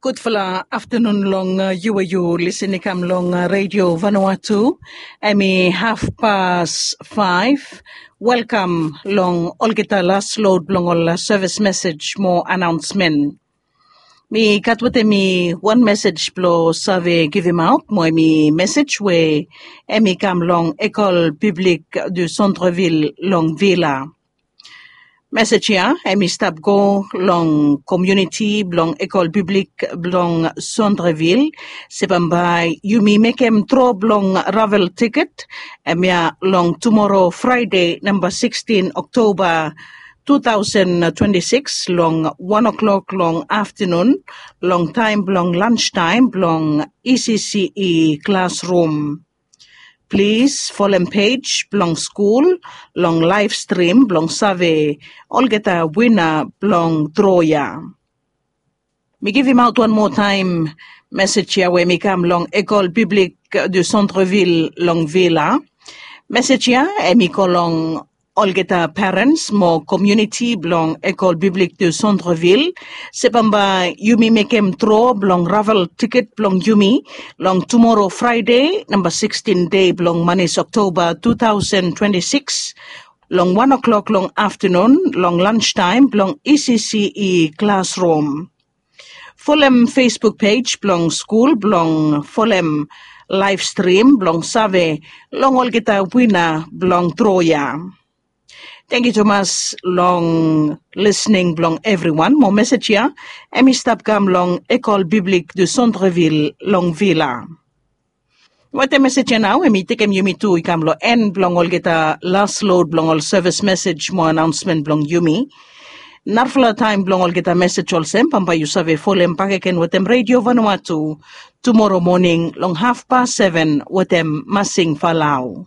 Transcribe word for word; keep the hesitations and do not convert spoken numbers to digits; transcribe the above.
Gudfala aftanun long, uh, yu we yu lisin i kam long, uh, Redio Vanuatu. Hemi hafpas faef. Welkam long olgeta las lod blong ol, uh, sevis mesej mo anaonsmen. Mi gat wetem mi wan mesej blong save givimaot mo hemi mesej we hemi kam long Ecole Publique du Centre-Ville long Vila. Mesej ya hemi stap go long komuniti blong Ecole Publique blong Centre-Ville se bambae yumi mekem dro blong ravel tiket, hemia long tumoro Fraede namba sikstin Oktoba tu taosen twenti sikis long wan oklok long aftanun, long taem blong lanstaem blong E C C E klasrum. Plis folem pej blong skul long laef strim blong save olgeta wina blong dro ya. Mi givimaot wan moa taem mesej ya we hemi kam long Ecole Publique du Centre-Ville long Vila. Mesej ya hemi go long olgeta parens mo komuniti blong Ecole Publique du Centre-Ville se bambae yumi mekem dro blong ravel tiket blong yumi long tumoro Fraede namba sikstin dei blong manis Oktoba tu taosen twenti sikis, long wan oklok long aftanun long lanstaem blong E C C E klasrum. Folem Facebook pej blong skul blong folem laef strim blong save long olgeta wina blong dro ya. Tangkiu tumas long lisning blong evriwan mo mesej ya hemi stap kam long Ecole Publique du Centre-Ville long Vila. Wetem mesej ya nao hemi tekem yumi tu i kam long en blong olgeta las lod blong ol sevis mesej mo anaonsmen blong yumi. Narafala taem blong olgeta mesej olsem bambae yu save folem bakegen wetem Redio Vanuatu tumoro moning long hafpas seven wetem Masing Falau.